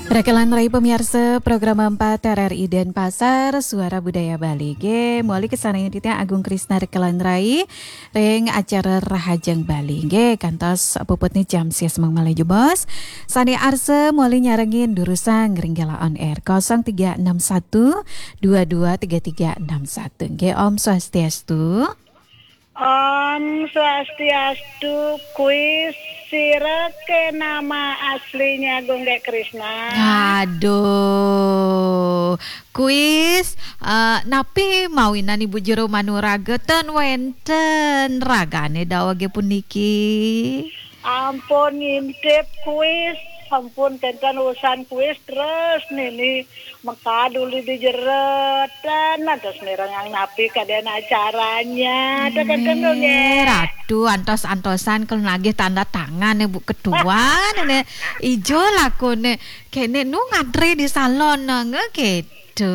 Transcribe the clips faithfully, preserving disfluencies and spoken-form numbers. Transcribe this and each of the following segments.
Rekelan Rai pamiarsa program empat R R I Denpasar, Suara Budaya Bali. Nggih, muli kesarengan titiang Agung Krisna Rekelan Rai ring acara Rahajeng Bali. Nggih, kantos puputne jam sia semeng malih jebos. Sane arsa muli nyarengin durusang ring Gela On Air kosong tiga enam satu dua dua tiga tiga enam satu. Nggih, Om Swastiastu. Om Swastiastu, kuis sira ke nama aslinya Gung Gek Krisna? Aduh, kuis, eh, napi mawinan Ibu Jero Manuraga ten wenten ragane dawege puniki? Ampun ngintip kuis, ampun kenten urusan kuis terus nini mekad uli di jero ten, terus mirengang napi kaden acaranya. Ada kenten dong, nggih, ya? Ratu, antos-antosan kalau nagih tanda tangan, Bu Ketua, nene ijo lakune. Kene nu ngantri di salon, nge, gitu.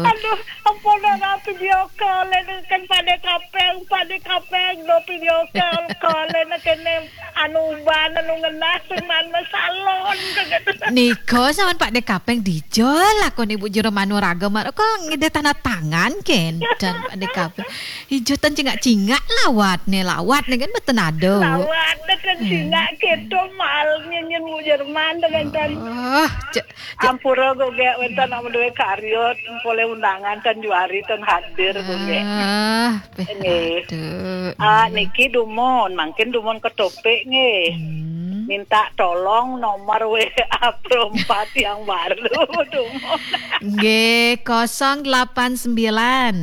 Aduh, ampun, ora video call, ini kan pada kapeng, pada kapeng, no video call, call, ini kene anu uban, anu ngenah, sing man salon, gitu. Nika sawan Pak Dekapeng dijol, lakon Ibu Jero Manuraga, mar-, kok ngide tanda tangan, kenten Pak Dekapeng. Ijo ten cingak-cingak lawat ne, lawat ne kan betenado. Lawat ne kan cingak, gitu, mal, nyenyen Bu Jerman, dengan ten. Oh, cek, cek. Ampura, Gung Gek, wenten amun duwe karya, polih undangan, ten juari, ten hadir, Gung Gek. Ah, peh, nggih. Aduh. Ah, niki dumun, mangkin dumun ke topik, nggih. Hmm. Minta tolong nomor W A perempat yang baru, dumun. Nggih, kosong delapan sembilan.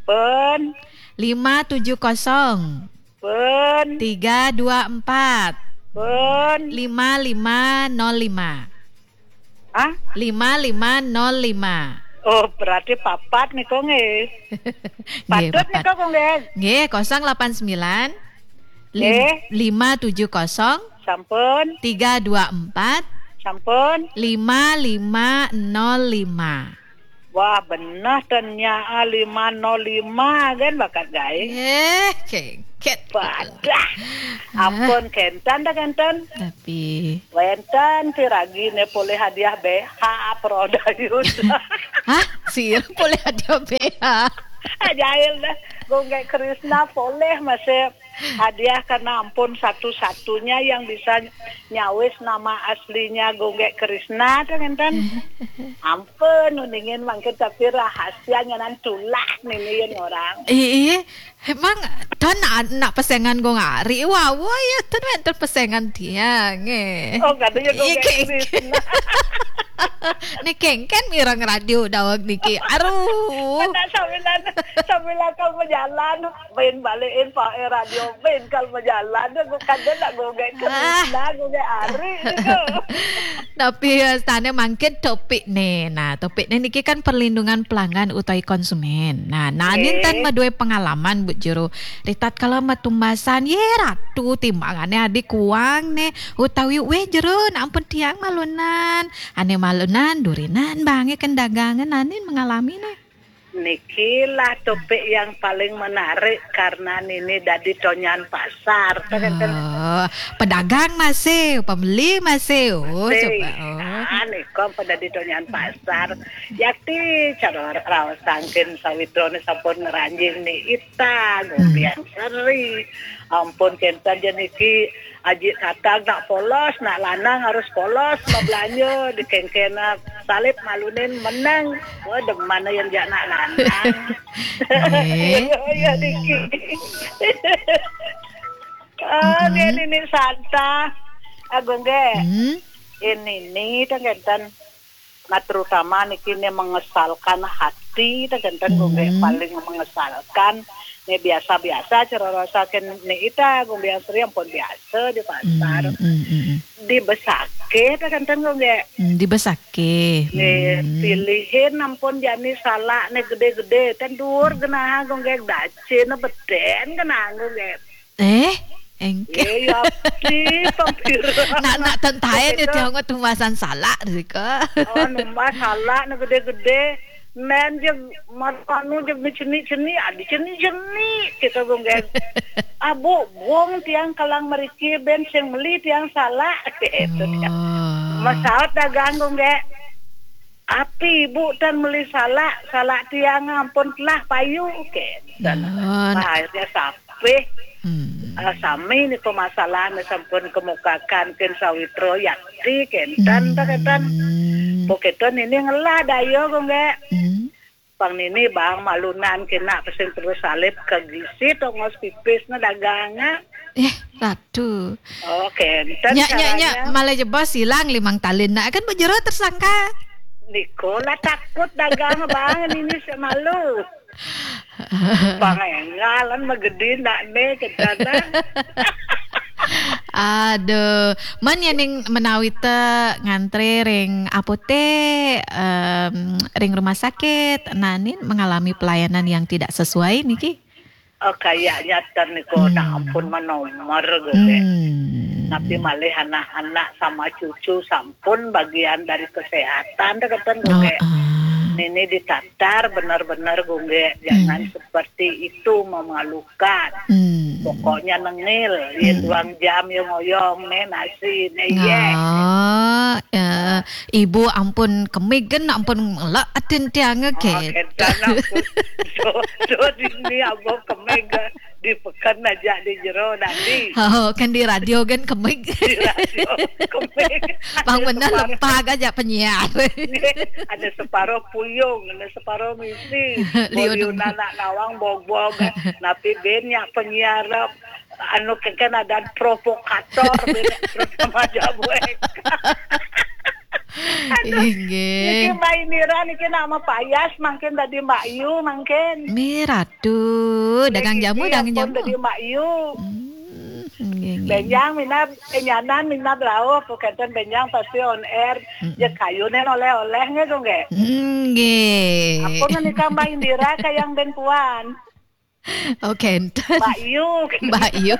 Pun. Lima tujuh kosong. Pun. Tiga dua empat. Pun. Lima lima nol lima. Ah? Lima lima nol lima. Oh, berarti papat nika, nggih. Nggih, patut papat. Nika, Gung Gek? Nggih, kosong delapan sembilan, lim-, nggih, lima tujuh kosong, sampun, tiga dua empat, sampun, lima lima nol lima. Wah, bener ten nya, ah, lima nol lima kan bakat gae. Eh, kengket. Padah. Ah. Ampun, kenten dah, kenten. Tapi wenten piragi ne polih hadiah B H Prodayus. Hah? Sir, polih hadiah B H? Ah, jahil dah. Gung Gek Krisna polih masih hadiah karena ampun satu-satunya yang bisa nyawis nama aslinya Gung Gek Krisna, tuh, ngenten. Ampun, uningan mangkin tapi rahasia nyanan tulah nini yen orang. Iya, emang ten nak pesengan Gung Ari, wah, wah, ya, ten wenten pesengan tiang, eh. Oh, katanya Gung Gek Krisna. Ni kengken mireng radio daweg niki. Aduh. Sambilan, sambilan kal majalan, main balikin pakai radio, main kal majalan, aku kada nak Gung Gek Krisna, Gung Gek Ari, gitu. Tapi, eh, sane mangkin topik ne. Nah, topik ne niki kan perlindungan pelanggan utawi konsumen. Nah, nanin tan madue pengalaman, Bu Jero. Ritatkala matumbasan, ye ratu timbangane adi kuang ne, utawi, "Weh, Jero, nak ampun tiang malunan." Ane malunan, durinan, bange kan dagangan, nanin mengalami ne. Niki lah topik yang paling menarik karena nini dadi tonyan pasar. Oh, pedagang masih, pembeli masih. Oh, masih. Coba. Oh. Ah, nika pada di tonyan pasar. Yakti cara raos sangkin sawitrone sampun ngranjing ni ita, gombian seri. Ampun, kenten je niki Aji Tatang nak polos, nak lanang harus polos, mabelanja di kengkena salib malunin menang. Wah, demen yang jak nak lanang. Nggih. Iya, iya, niki. Ah, nggih, Nini Santa. Agung, nggih. Hmm. Ini ni, tengkenten. Nah, terutama niki ne mengesalkan hati, tengkenten, nggih, paling mengesalkan. Ne biasa-biasa, cara rasaken ne ita, gombian seri ampun biasa di pasar. Hmm, hmm, hmm, hmm. Dibesake, tengkenten, nggih. Hmm, dibesake. Nggih, hmm. Pilihin ampun jani salak ne gede-gede, ten duur genah, nggih, dace ne beden genah, nggih. Eh, engke. Eh, ya, ti, pampir. Nak, nak tentaen ya, tiang tumbasan salak, rika. Oh, numbas salak ne gede-gede. Men je, mat anu je, cenik-cenik, adi cenik-cenik, kita, gong, geng. Ah, Bu, bong tiang kalang meriki, ben sing meli tiang salak, gitu, tiang. Oh. Masaut dagang, gong, geng. Api ibu tan meli salak, salak tiang ampun telah payu, kenten. Nah, akhirnya sapih. Hmm. Ah, sami niko masalah, sampun kemukakan ken sawitra yakti, kenten, hmm, kenten. Pokoknya ini ngelah dayo, Gungge. Hmm. Pang nini bang malunan kena pesing terus salib ke gisi tongos pipis na dagang. Eh, Ratu. Oh, kenten. Nyak, nyak, nyak, malah jebos hilang limang talin. Nak kan bejero tersangka. Niko lah takut dagang bang, nini semalu. Bang engalan magedi nak ne, kenten. Aduh, man ya ning menawita ngantri ring apotek, em, ring rumah sakit, nanin mengalami pelayanan yang tidak sesuai niki. Oh, kayaknya ten niko, hmm, nak ampun menomor gitu. Hmm. Tapi malih anak-anak sama cucu sampun bagian dari kesehatan deh, kenten, Gungge. Oh, ah. Nini ditatar bener-bener, Gungge. Jangan, hmm, seperti itu, memalukan. Hmm. Pokoknya nengil, ya, hmm, duang jam ya ngoyong ne nasi ne, ye. Oh, eh, ibu ampun kemig kan, ampun lek atin tiang, oh, ke. Kenten ampun. Do, do dini abang kemig di peken aja di jero tadi. Oh, kan di radio kan kemig. Di radio kemig. Bang bener lempag aja penyiar. Ada separuh puyung, ada separuh misi. Liun. Liun anak nawang bogbog. Napi ben nyak penyiar anu keken ada provokator, ben terus sama jabuek. Aduh, inggih. Niki Mbak Indira niki nama payas, mangkin tadi Mbak Yu, mangkin. Mi Ratu, dagang jamu, niki dagang ampun jamu. Tadi Mbak Yu. Hmm, inggih, inggih. Benjang minab, enyanan minab lauh, kenten benjang pasti on air. Mm-mm. Ya kayune oleh-oleh nggih, Gungge. Inggih. Ampun menika Mbak Indira kayang ben puan. Oh, kenten. Mbak Yu. Mbak Yu.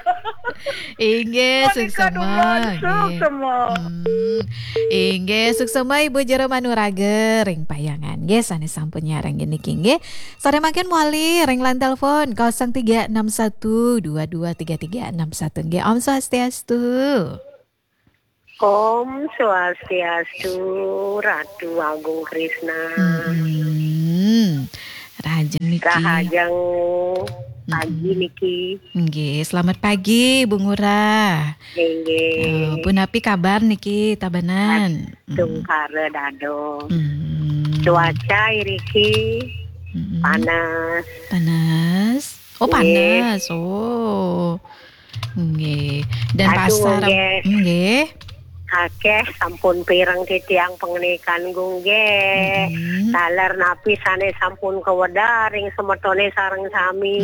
Inggih, suksema, suksema. Hmm. Inggih, suksema Ibu Jero Manuraga ring Payangan. Nggih, sane sampun nyarengin niki nggih. Sare mangkin mawali ring line telepon kosong tiga enam satu dua dua tiga tiga enam satu nggih. Om Swastiastu. Om Swastiastu, Ratu Agung Krisna. Mm-mm. Rahajeng niki. Rahajeng pagi niki. Nggih, selamat pagi, Bu Ngurah. Nggih. Eh, punapi kabar niki, tabanan? Tungkara dados. Mm. Cuaca iriki panas. Panas. Oh, nggih. Panas. Oh. Nggih. Dan aduh, pasar, nggih. Nggih. Akeh sampun pireng titiang pangenikan, nggih. Mm-mm. Taler napi sane sampun kawedar ring semetone sareng sami.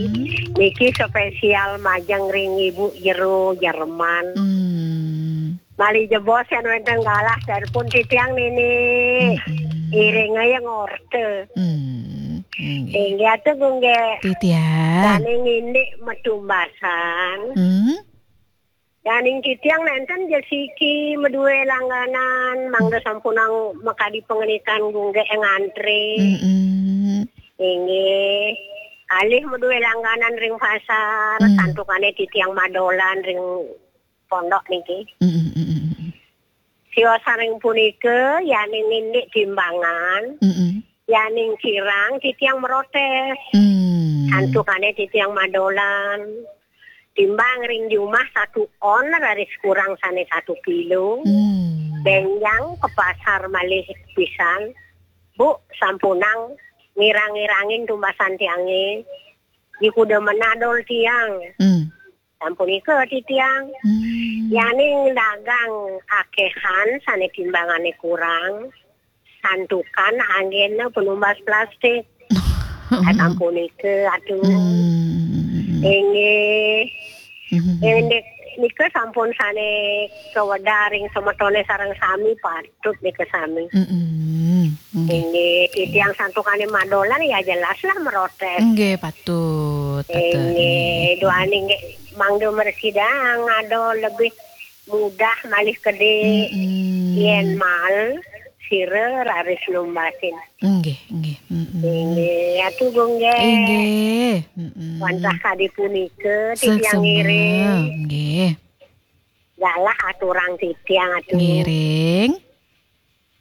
Mm. Niki spesial majeng ring Ibu Jero Jerman. Mm. Malih jebos yen wenten galah telepon titiang nini. Mm-mm. Iring aja ngorte. Mm. Nggih. Inggih atuh, Gungge. Titiang. Daning indik matumbasan. Mm. Daning titiang nenten ja siki madue langganan, mangda sampunang makadi pangenikan Gungge ngantri. Mm-mm. Inggih. Alih madue langganan ring pasar, mm, santukane titiang madolan ring pondok niki. Mm-mm, mm-mm, mm-mm. Siosan ring punika, yaning indik timbangan, mm-mm, yaning kirang, titiang merotes. Mm. Santukane titiang madolan. Timbang ring jumah satu on, raris kurang sane satu kilo. Mm. Benjang ke pasar malih pisan. Bu, sampunang ngirang-ngirangin tumbasan tiange. Dikuda menadol tiang. Mm. Sampunika titiang. Hmm. Yaning dagang akehan sane timbangane kurang, santukan anggena penumbas plastik. Sampunika atuh. Hmm. Inggih. Hmm. Indik nika sampun sane kawedar ring semetone sareng sami, patut nika sami. Mm-mm. Nggih. Inggih, titiang santukane madolan ya jelas lah merotes. Nggih, patut, patut. Inggih, nggih. Duaning nggih mangda mresidang ada lebih mudah malih kedi. Mm-mm. Yen mal sira raris numbasin. Nggih, nggih. Mm-mm. Inggih, atu Gungge. Inggih. Mm-mm. Wantah kadi punika titiang suksema ngiring. Nggih. Galah aturang titiang atu. Ngiring.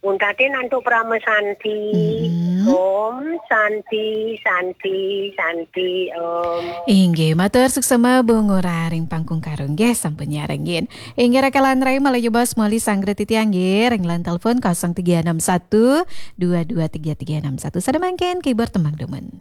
Pun tadi nantuk Parama Santi. Mm-mm. Om Santi, Santi, Santi, Om. Inggih, matur suksema Bu Ngurah ring Pangkung Karung nggih, sampun nyarengin. Inggih, rakalan rai malih jebos mali sanggra titiang nggih ring line telepon kosong tiga enam satu dua dua tiga tiga enam satu. Sada mangkin keyboard tembang demen.